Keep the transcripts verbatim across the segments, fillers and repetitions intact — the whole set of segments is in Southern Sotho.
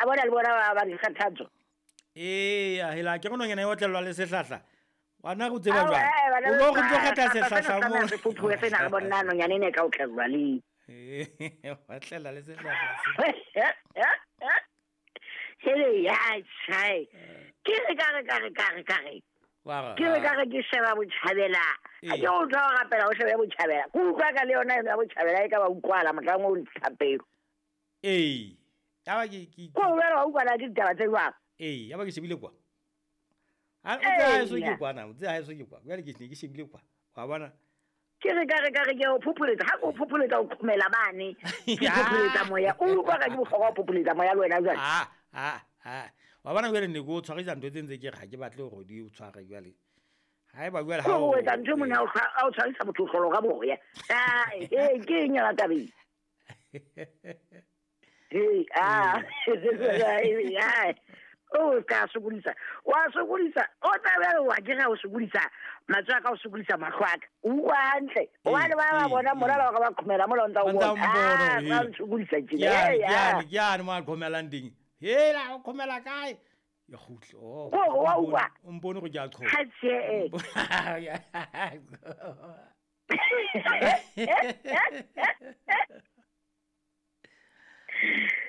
bona le bona ba ba dikgathatso. Ee, a hela ke nonyana e otlellwa le sehlahla. Wena o tseba Ao, jwang? eh, bana O lo re tlo ba- kgetha sehlahla sehlahla sena mo. se fophuwe sena re bona nonyana ena e ka otlellwa le. Ee, otlela le sehlahla se. Hele ya tjhai. Ke re ka re ka re ka re ka re. Wa re, Ke re ka ha. re ke sheba botjhabela. Ee. Ha ke utlwa o rapela o shebe botjhabela. Ke utlwa ka le yona eno ya botjhabela e ka ba utlwala mohlang o thapelo. Ee. Ya ba ke ke Ko o jwale wa utlwana ke ditaba tse jwang? Ee, ya ba ke shebile kwa. Ha o tse ha eso ke Eya. kwana, o tse ha eso ke kwa. Jwale ke ne ke shebile kwa. Wa bona? Ke re ka re ka re ke o phopholetsa. Ha ke o phopholetsa o qhomela mane. Ke phopholetsa moya. O utlwa ka ke bohlokwa ho phopholetsa moya le wena jwale. Ah, ah, ah. Wa bona jwale ne ke o tshwarisa ntho tse ntse ke re ha ke batle hore di o tshware jwale. Haeba jwale ha Ko o o etsa ntho e mona o tshwa- a o tshwarisa motho o hlolo ka boya. Ah, eh, ke eng yona tabeng? Hey, ah, ai. O ka sokodisa. Wa sokodisa. O tla be wa ke ga o sokodisa. Matsoho a ka o sokodisa mahlo a ka. O utlwa hantle. Hobane ba ba bona mola ba ka ba qhomela mola o ntsa o Ba ntsa bona. o mpona, Ah, ee. ba nsokodisa tjena. Ke yane, Hey, ke ah. yane, ke yane mo a qhomelang teng. Hela, o qhomela kae? Ya kgutla. Oh, Ko re wa o mpone- utlwa? o mpone hore ke a qhoma. Ha tjhe, eh.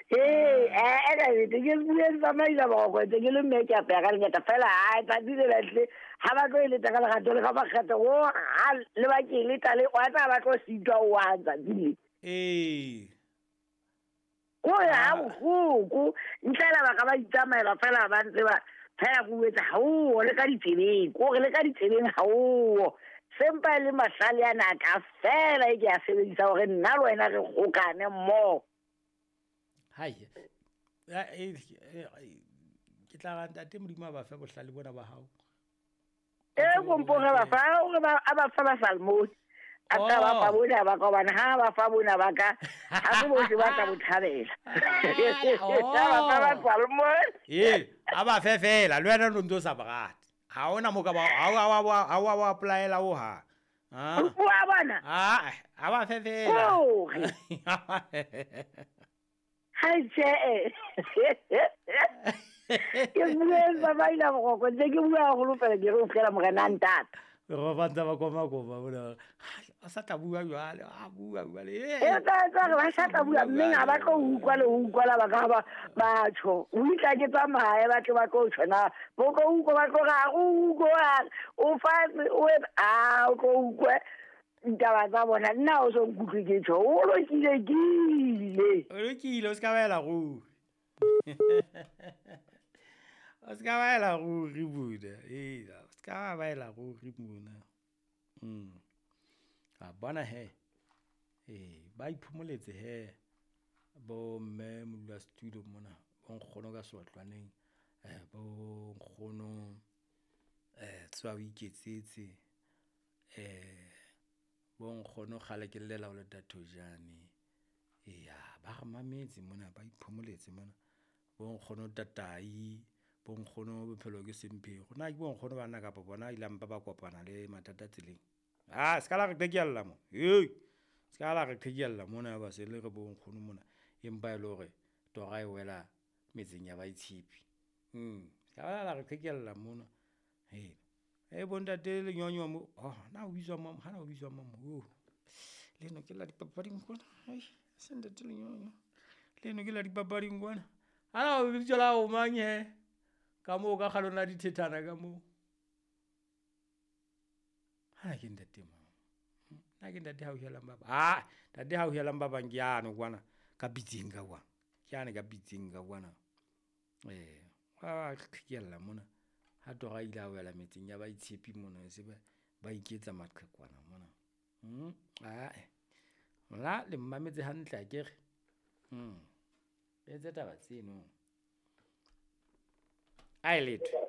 Ee, eh, eh, ka nnete, ke bue ke tsamaisa boroko, ntse ke le mme ke apeya ka lengata fela, hai, tsatsi le lahle, ha ba tlo eletsa ka lerato le ka makgethe, o, ha, le ba ke eletsa le, wa tseba ba tlo sitwa o wa tsatsi le. Ee. Ko re ha bohloko, ntle le ba ka ba itsamaela fela ba ntse ba, fela ke o etsa ha o, le ka ditsebeng, ko re le ka ditsebeng ha o. Sempa e le mahlale ana a ka fela e ke a sebedisa hore nna le wena re kgokane mmoho. Hai. Ya, eh, eh, ke tla ra ntate Modimo a ba fe bohlale bona ba hao. E kompong a ba fa, o re ba, a ba fa ba salmone. A tla ba fa Oh. bona ba ka, hobane ha ba fa bona ba ka, ha se bohle ba tla bo thabela. Oh. A ba fa ba salmone. Ee, a ba fe fela, le wena o ntso sa ba rate. Ha hona mo ka ba, ha wa, wa, wa, ha wa, wa apply-ela ho hang. Ah. Wa bona? Ah, a ba fe fela. Kore. Ha tjhe. Ke bue ba ba ila boroko, ntse ke bua haholo fela ke re o fela morena a ntata. Re ba ntse ba koma koma bona. A sa tla bua jwale, a bua jwale. E tla tla re ba sa tla bua, mme ha ba tlo utlwa le ho utlwa la ba ka ba ba tjho. O itla ke tsamaye ba tle ba tlo tjho na. Bo tlo utlwa ba tlo re, ha o utlwe, o fatshe, o e, a, o tlo utlwe ditaba tsa bona. Nna o so nkutlwe ke tjho. O lokile ke ile. O lokile, o ska ba ela ruri. O ska ba ela ruri mona. Ee, o ska ba ela ruri mona. Mm. A bona he. Ee, ba iphomoletse he. Bo mme modula studio mona, bo nkgono ka seotlwaneng, eh, bo nkgono, eh, tswa o iketsetse, eh, bo nkgono kgale ke llela ho le Tathojane. Eya, ba re mametse mona, ba iphomoletse mona. Bo nkgono Tatai, bo nkgono Bophelo ke Semphego. Na ke bo nkgono bana kapa bona ile mpa ba kopana le mathata tseleng. Ah, ska la re qekella mo. Hei, ska la re qekella mona ba se le re bo nkgono mona. Empa e le hore tora e wela metseng ya baitshepi. Mm, ska la re qekella mona. Hei. E bo ntate Lenyonyo mo. Oh, na o bitswa mang? Ha na o bitswa mang? Oh. Leno ke la dipapading kwana. Hei, se ntate Lenyonyo. Leno ke la dipapading kwana. Ha na o bitswa la o mang he? Ka moo ka kgalong la dithethana ka moo. Ha ke ntate mang? Na ke ntate hauhelang ba bang. Ah, ntate hauhelang ba bang ke yane kwana ka pitseng ka kwana. Ke yane ka pitseng ka kwana. Eh, wa qhekella mona. Ha tora ile a wela metseng ya baitshepi mona, se ba, ba iketsa maqhekwana mona. Mm, ah, la le mmametse hantle akere. Mm. Etse taba tseno. A e letwe.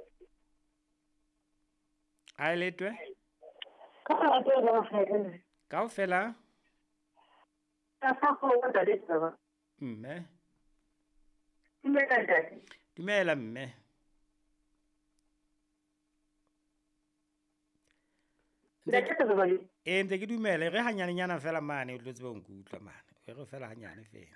A e letwe. Kaofela. Mme. Dumela mme. Ee, ntse ke dumela, re hanyanenyana fela mane, o tlo tseba ho nkutlwa mane. E re fela hanyane fela.